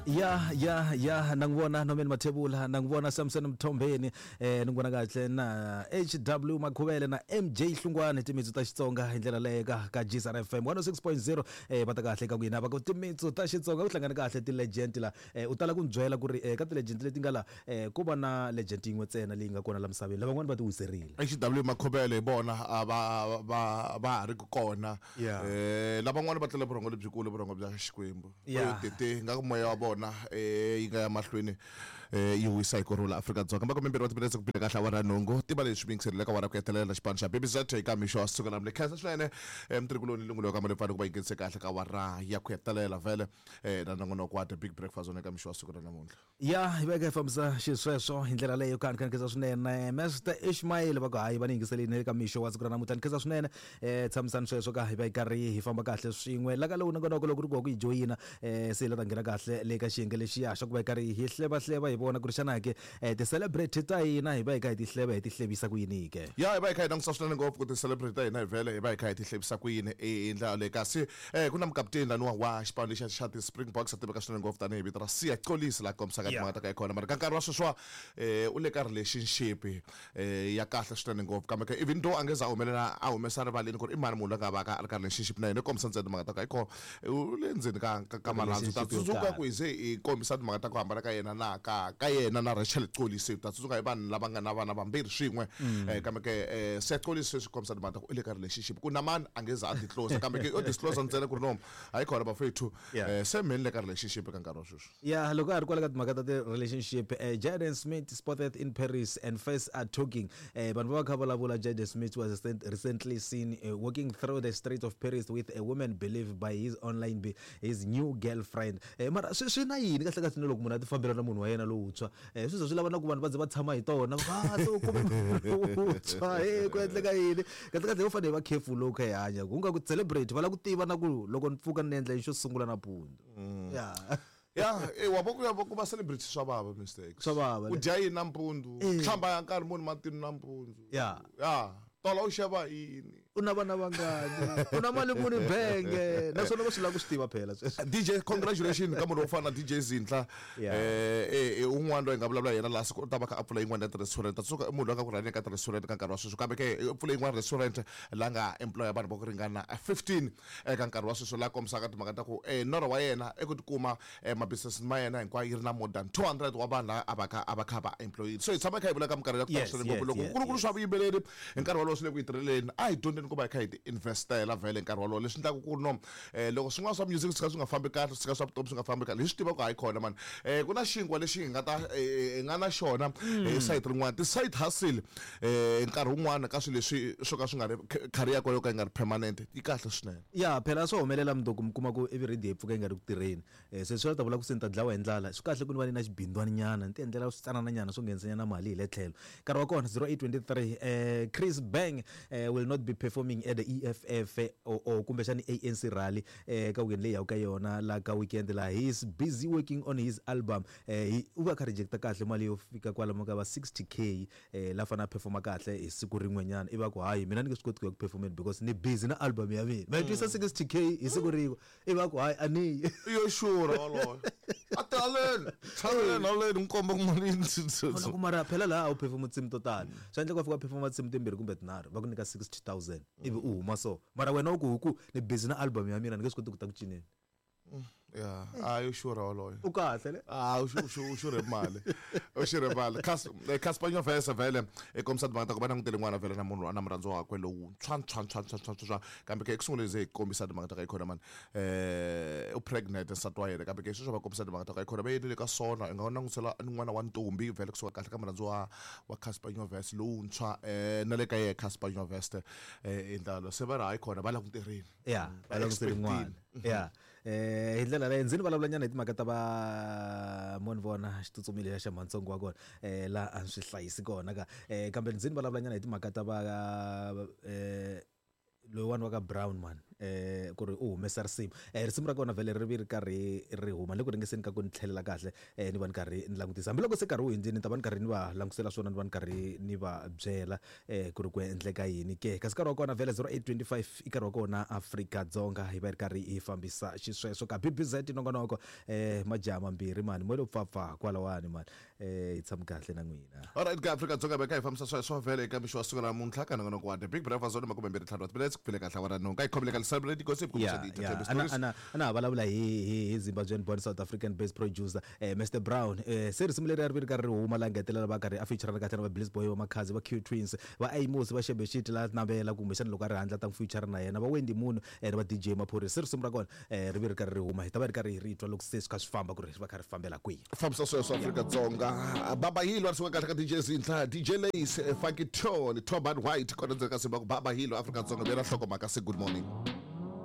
Ya ya ya, na n'wi vona Norman Mathebula, na n'wi vona Samson Mthombeni, ni n'wi vona kahle na HW Makhuvele na MJ Hlungwane, timitsu ta Xitsonga hi ndlela leyo ka GSR FM 106.0. Va ta kahle ka ku yina va ku timitsu ta Xitsonga ku hlangane kahle ti-legend la. U tala ku ni byela ku ri ka ti-legend leti nga la ko va na legend yin'we ntsena leyi nga kona la misaveni, lavan'wana va ti wiserile. HW Makhuvele hi vona a va va va ha ri ku kona. Lavan'wana va tlela vurhongo lebyikulu, vurhongo bya Xikwembu. Tete nga ku moya wa vona yi nga ya mahlweni yi wisa hi ku rhula Afrika-Dzonga. Makumembirhi wa timinetse ku bile kahle awara ya nhungu. Tiva leswi mi yingiserile ka awara ku hetelela xipano xa Baby Z eka mixo wa siku namuntlha. Khensa swinene mutirhikuloni Lungulo ka Malempfani ku va yi nghenise kahle ka awara ya ku hetelela vhele na nongonoko wa The Big Breakfast wona eka mixo wa siku ra namuntlha. Ya hi veka hi fambisa xisweswo hi ndlela leyo ka ni kha ni khensa swinene Master Ishmael va ku hayi va ni yingiseleni eka mixo wa siku ra namuntlha. Ni khensa swinene tshamisani sweswo ka hi va hi karhi hi famba kahle swin'we la ka lowu nongonoko loko ku ri ku wa ku yi joyina se hi la ta nghena kahle le ka xiyenge lexiya xa ku va hi karhi hi hlevahleva hi vona ku ri xana ke ti-celebrity ta hina hi va hi kha hi ti hleva hi ti hlevisa ku yini ke. Ya hi va hi kha hi langutisa swinene ngopfu ku ti-celebrity ta hina hi vhele hi va hi kha hi ti hlevisa ku yini hi ndlela yaleyo kasi Ku na mukaputeni laniwa wa xipano lexiya xa ti-Springboks a tiveka swinene ngopfu tanihi vito ra Siya Kolisi laha kombisaka timhaka ta ka kona mara ka nkarhi wa sweswiwa u le ka relationship ya kahle swinene ngopfu kambe ke even though a nge za a humelela a humesa rivaleni ku ri i mani munhu loyi a nga va ka a ri ka relationship na yena i kombisa ntsena timhaka ta ku hayikhona u le ndzeni ka marhandzu ta tsundzuka ku hi ze hi kombisa timhaka ta ku hambana ka yena na ka yena na Rachel Kolisi ta tsundzuka hi vanhu lava nga na vana vambirhi swin'we kambe ke Siya Kolisi sweswi kombisa timhaka ta ku u le ka relationship ku na mani a nge za a disclose kambe ke o disclose ntsena ku ri no hayi khona bafethu se mheni le ka relationship ka nkarhi wa sweswi. Ya loko a ri kwala ka timhaka ta ti-relationship Jaden Smith spotted in Paris and first are talking vanhu va va kha vulavula. Jaden Smith was recently seen walking through the streets of Paris with a woman believed by his online be his new girlfriend. Mara swi na yini kahle kahle na loko munhu a ti fambela na munhu wa yena lowuntshwa swi ze swi lava na ku vanhu va ze va tshama hi tona va se u kume munhu lowuntshwa he ku endleka yini kahle kahle ho fanele hi va careful loko kha hi hanya ku nga ku celebrate va lava ku tiva na ku loko ni pfuka ni endla yini xo sungula nampundzu ya. Ya wa vo ku ya ku va celebrity swa vava mistakes swa vava u dya yini nampundzu hlamba ya nkarhi muni matinu nampundzu ya ya tola u xava yini u na vana vangani u na mali muni benge naswona va swi lava ku swi tiva phela sweswo. DJ congratulations ka munhu wo fana na DJ Zinhla un'wana loyi hi nga vulavula yena laha siku u ta va kha a pfula yin'wana ya ti-restaurant ta tsundzuka i munhu loyi a nga ku rhangeni ka ti-restaurant ka nkarhi wa sweswi kambe ke u pfule yin'wana restaurant la nga employer vanhu va ku ringana 15 eka nkarhi wa sweswi la kombisaka timhaka ta ku norho wa yena i ku tikuma ma-business ma yena hinkwayo yi ri na more than 200 wa vanhu lava a va kha a va kha va employile. So hi tshama hi kha hi vula ka minkarhi ya ku tala swinene ngopfu loko ku ri ku ri swa vuyimbeleri hi nkarhi wolowo swi le ku hi tirheleni a hi dyondzeni ku va hi kha hi ti investela vhele hi nkarhi wolowo leswi endlaka ku no loko swin'wana swa music swi kha swi nga fambi kahle swi kha swa vutomi swi nga fambi kahle hi swi tiva ku hayi khona mani ku na xinkwa lexi hi nga ta hi nga na xona hi sayiti rin'wana ti-side hustle nkarhi wun'wana ka swilo leswi swo ka swi nga ri career yo ka yi nga ri permanent yi kahle swinene. Ya phela swa humelela mundzuku mi kuma ku ivi radio yi pfuka yi nga ri ku tirheni se swi ta vula ku se ni ta dlawa hi ndlala. Swi kahle ku ni va ni na xibindzwana nyana ni ti endlela switsanana nyana swo nghenisa nyana mali hi le tlhelo. Nkarhi wa kona 08:23 Chris Bang will not be performing at the EFF or kumbexani ANC rally ka weekend leyi yaka ka yona la ka weekend la he is busy working on his album u va kha rejecta kahle mali yo fika kwalomu ka va 60K la fanele a performa kahle hi siku rin'wenyana ivi a ku hayi mina ni nge swi koti ku ya ku performeni because ni busy na album ya mina. Ma yi twisa 60K hi siku rin'we ivi a ku hayi a ni yi. Yo sure waloye a ti haleni tshameleni haleni n'wi komba ku mali yi ku mara phela laha a wu perform tinsimu to tala swa endleka u fika u performa tinsimu timbirhi kumbe tinharhu va ku nyika 60,000 ivi u huma so mara wena u ku hi ku ni busy na album ya mina ni nge swi koti ku ta ku cineni. Ya a yo xurha woloye u kahle le a u xurhe mali u xurhe mali Casper Nyovest vhele i kombisa timhaka ta ku va langutele n'wana vhele na munhu na murhandzi wakwe lowuntshwa ntshwa ntshwa ntshwa ntshwa ntshwa kambe ke eku sunguleni ze hi kombisa timhaka ta ka ikhona mani u pregnant nsati wa yena kambe ke sweswo va kombisa timhaka ta ka ikhona va yele le ka sona i nga langutisela n'wana wa ntombi vhele kusuka kahle ka murhandzi wa Casper Nyovest lowuntshwa na le ka yehe Casper Nyovest i ndlalo se va ri hayi khona va languterini. Ya va langutele n'wana ya hi ndlela leyo ndzi ni vulavula nyana hi timhaka ta va mo ni vona xitsutsumi lexa xa mhantsongo wa kona laha a ni swi hlayisi kona ka kambe ndzi ni vulavula nyana hi timhaka ta va loyiwani wa ka Brown man. Ku ri u humesa risimu. Risimu ra kona vhele ri vi ri karhi ri huma le ku ringeseni ka ku ni tlhelela kahle ni va ni karhi ni langutisa. Hambiloko se nkarhi wu hundzile ni ta va ni karhi ni va langutisela swona ni va ni karhi ni va byela ku ri ku endleka yini ke. Kasi nkarhi wa kona vhele 08:25 i nkarhi wa kona Afrika-Dzonga hi va hi ri karhi hi fambisa xisweswo ka BBZ nongonoko majaha mambirhi mani mo lo pfapfa kwalawani mani hi tshami kahle na n'wina. Alright ka Afrika-Dzonga veka hi fambisa sweswo vhele eka mixo wa siku ra namuntlha ka nongonoko wa The Big Breakfast Zone 25 wa timinetse ku file kahle awara nhungu. Ka hi khomile ka Celebrate Gossip kumbe Yeah, swa yeah. ti-entertainment Ana stories. ana ana ha vulavula hi Zimbabwean born South African based producer Mr Brown. Se risimu leri a ri vi ri karhi ri huma la ngetelela va karhi a feature kahle na va Bliss Boy, va Makhadzi, va Q Twins, va Amos, va Shebeshit la navela kumbexana loko a ri handle ta n'wi feature na yena, va Wendy Moon na va DJ Maphorisa. Se risimu ra kona ri vi ri karhi ri huma, hi ta va ri karhi hi ri twa loko se swi kha swi famba ku ri va kha ri fambela kwihi. Fambisa sweswo Afrika-Dzonga. Baba Hilo a ri suka kahle ka DJ Zinhla, DJ Lace, Funky Tone, Toban White kona ndzeni ka simu va ku Baba Hilo Afrika-Dzonga vuyela nhlokomhaka se good morning.